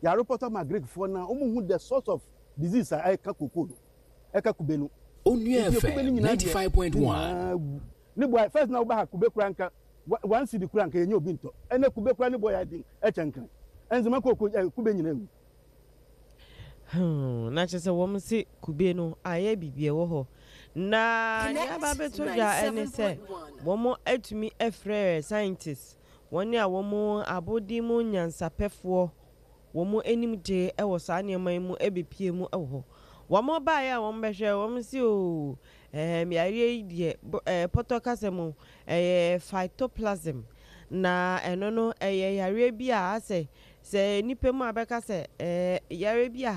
Yɛarepɔtɔ ama Greekfoɔ no a wɔhu the source of disease a ɛka cocoa no, ɛka kube no. Onua Nti kube no FM nyinaa deɛ, ne 95.1. nyinaa awu. Ne boɔ ayɛ, first na woba ha kube koraa nka one cedi koraa nka yɛnya obi ntɔ. Ɛnnɛ kube koraa ne boɔ yɛ den kyɛn nkran. Nzema kooko, eh, kube nyinaa awu. Hmm, na kyerɛ sɛ wɔn se kube no ayɛ biribi ɛwɔ hɔ. Na nea aba abɛtɔ dwa ne sɛ wɔn atumi afrɛ scientists, wɔn a wɔn abɔde mu nyansapɛfoɔ, wɔn anim de wɔ saa nneɛma yi mu bɛpue mu wɔ hɔ. Wɔn baeɛ a wɔn bɛhwɛ, wɔn se oo, ɛɛm yareɛ yi deɛ, ɛɛ pɔtɔ kasa mu, ɛyɛ phytoplasm. Na ɛno no ɛyɛ yareɛ bi a asɛ sɛ nnipa mu a bɛka sɛ ɛɛ yareɛ bi a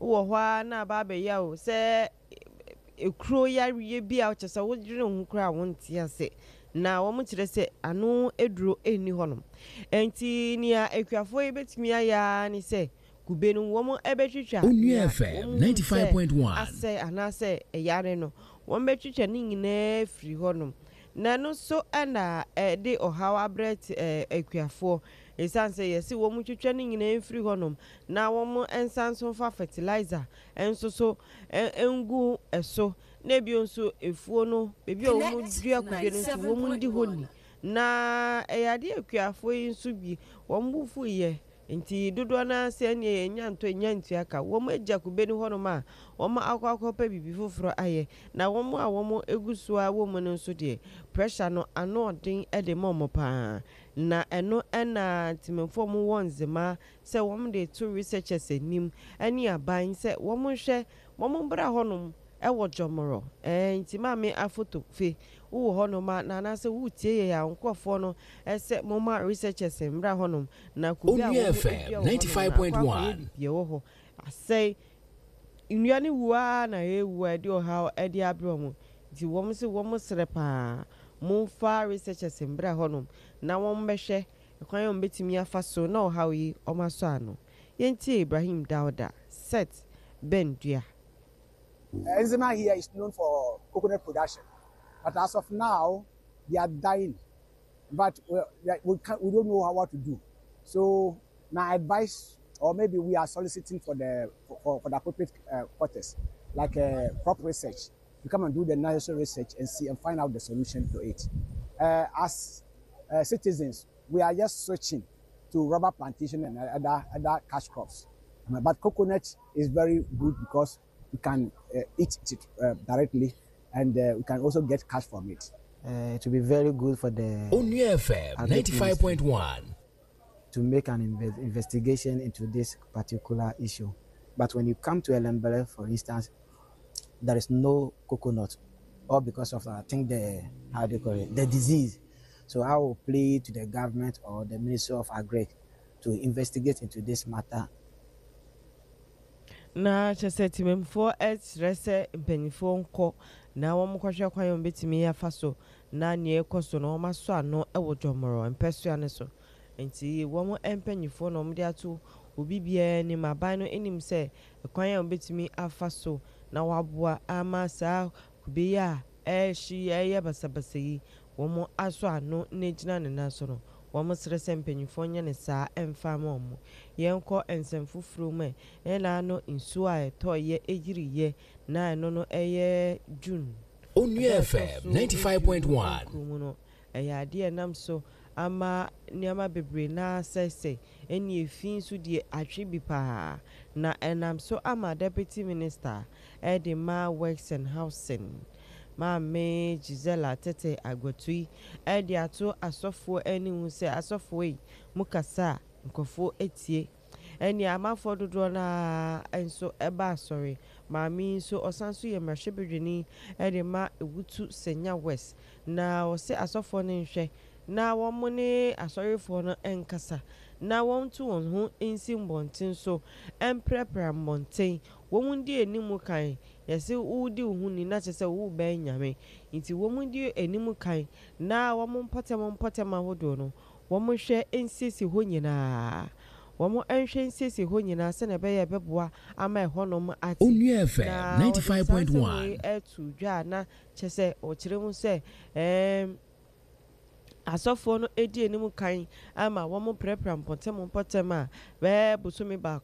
wowɔ hɔ ara na aba abɛya o, sɛ Ekuro yareɛ bi a kyerɛ sɛ wodwene ho koraa a wonte ase. Na wɔkyerɛ sɛ ano aduro nni hɔnom. Enti nea akuafoɔ yi bɛtumi ayɛ ara ne sɛ kube no wɔbɛtwitwa Onua nea FM wɔhunu sɛ 95.1. asɛe anaasɛ ɛyare no, wɔbɛtwitwa ne nyinaa afiri hɔnom. Na ɛno nso na ɛde ɔhaw abrɛ akuafoɔ. Ɛsiane sɛ yɛse wɔtwitwa ne nyinaa mfiri hɔnom na wɔnsan nso mfa fertilizer nso so ngu so, na bio nso afuo no, baabi a wɔdua kube no nso wɔndi hɔ ni. Na ɛyɛ adeɛ a akuafoɔ yi nso bi wɔn bo fuiɛ, nti dodoɔ no ara sɛ ɛnneɛ yɛnnya ntɔ yɛnnya ntua ka. Wɔagya kube no hɔnom a wɔakɔ akɔpɛ biribi foforɔ ayɛ. Na wɔn a wɔgu so ara wɔ mu no nso deɛ, pressure no ano ɔden de ma wɔn pa ara. Na ɛno na Ntemanfoɔ a wɔwɔ Nzema sɛ wɔn de to researchers anim ne aban sɛ wɔn nhwɛ wɔn mbra hɔ nom wɔ Jɔmorɔ ɛɛ nti maame afoto fe wo wɔ hɔ nom a na anaasɛ wo tie yɛ a wo nkorɔfoɔ no sɛ mo ma researchers mbra hɔ nom na kube a Onua wɔn dua FM wɔ hɔ nom no akɔ akɔyɛ 95.1. biribi ɛwɔ hɔ asɛe nnua no wu ara na ɛrewu a ɛde ɔhaw ɛde abrɛ wɔn nti wɔn se wɔn srɛ paa mo nfa researchers mbra hɔ nom na wɔn bɛhwɛ Kwan a wɔbɛtumi afa so na ɔhaw yi wɔasɔ ano. Yɛntie Ibrahim Dauda, Seth Ben Dua. Enzema here is known for coconut production, but as of now, they are dying. But we, we, can't, we don't know how, what to do. So my advice, or maybe we are soliciting for the for, for the appropriate uh, quarters, like uh, crop research, to come and do the necessary research and see and find out the solution to it. Uh, as uh, citizens, we are just switching to rubber plantation and other other cash crops. But coconut is very good because we can uh, eat it uh, directly and uh, we can also get cash from it. Uh, it will be very good for the Onua FM 95.1 to make an inve investigation into this particular issue. But when you come to Elembele, for instance, there is no coconut, all because of, I think, the, how do you call it, the disease. So I will plead to the government or the Ministry of Agri to investigate into this matter. Na kyerɛ sɛ temammufoɔ srɛ sɛ mpanimfoɔ nkɔ na wɔnkɔhwɛ kwan a wɔbɛtumi afa so na nea ɛrekɔ so no wɔasɔ ano wɔ Dwɔmorɔ mpɛsoa no so. Nti wɔn mpanimfoɔ na wɔde ato obi biara anim, aban no nim sɛ kwan a wɔbɛtumi afa so na wɔaboa ama saa kube yi a ɛrehye yi reyɛ basabasa yi wɔasɔ ano na agyina ne nan so no, wɔsrɛ sɛ mpanyimfoɔ nyɛ no saa mfa mma wɔn. Yɛnkɔ nsɛm foforɔ mu ɛ. Ɛna ano nsuo a ɛtɔeɛ yiriiɛ na ɛno no ɛyɛ June Onua da a ɛtɔ FM so 95.1. 29 mu no. Ɛyɛ adeɛ a ɛnam so ama nneɛma bebree no ara asɛesɛe, ɛne efi nso deɛ atwe bi pa ara. Na ɛnam so ama Deputy Minister de ma Works and Housing, Maame Gisella Tete Aguatui de ato asɔfoɔ anim sɛ, Asɔfoɔ ei, mo kasa a, nkurɔfoɔ tie. Ɛnneɛ amanfoɔ dodoɔ no ara nso ba asɔre. Maame yi nso, ɔsan nso yɛ mmarahyɛbadwani de ma Ewutu Senya West. Na ɔse asɔfoɔ no nhwɛ na wɔn ne asɔrefoɔ no nkasa na wɔnto wɔn ho nsi mmɔnten so mprapra mmɔnten. Wɔn di anim kan. Yɛse wodi wo ho ni na kyerɛ sɛ wobɛn Nyame. Nti wɔn di anim kan na wɔn mpɔtam mpɔtam ahodoɔ no wɔnhwɛ nsiesie hɔ nyinaa. Wɔn nhwɛ nsiesie hɔ nyinaa sɛnea ɛbɛyɛ a ɛbɛboa ama ɛhɔnom ate. Onua FM Na wɔde saa nsɛm wei 95.1. to dwa a na kyerɛ sɛ wɔkyerɛ mu sɛ ɛɛm. Asɔfoɔ no di anim kan ma wɔprapra mpɔtam mpɔtam a bɛyɛ bosome baako.